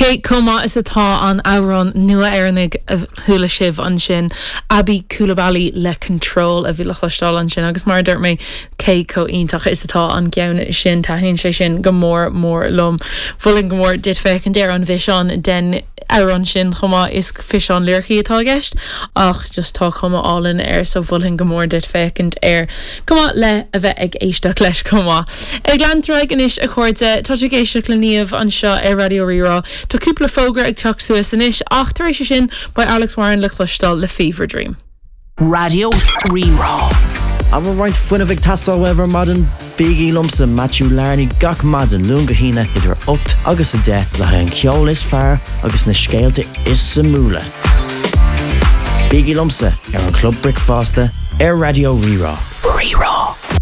Cé chomh maith is atá an amhrán nua Éireannaigh a chuala sibh ansin, Aby Coulibaly le Control a bhí le cloisteáil ansin agus mar a dúirt mé, cé chomh iontach is atá an ceann sin, taitníonn sé sin go mór mór liom. Mholfainn go mór duit féachaint ar an bhfiseán den amhrán sin chomh maith, is fiseán liricí atá i gceist ach just tá cuma álainn air so mholfainn go mór duit féachaint air chomh maith le a bheith ag éisteacht leis chomh maith. Ag leanúint ar aghaidh anois a chairde, tá tú ag éisteacht le Niamh anseo ar Raidió Rí-Rá. Tá cúpla fógra ag teacht suas anois ach tar éis sin beidh Alex Warren le cloisteáil le Fever Dream. Raidió Rí-Rá. An bhfuil roinnt fuinnimh ag teastáil uaibh ar maidin? Bígí liomsa, Matthew Larney, gach maidin, Luan go hAoine, idir 8 agus 10, le haghaidh an ceol is fearr agus na scéalta is suimiúla. Bígí liomsa ar an Chlub Bricfeasta ar Raidió Rí-Rá.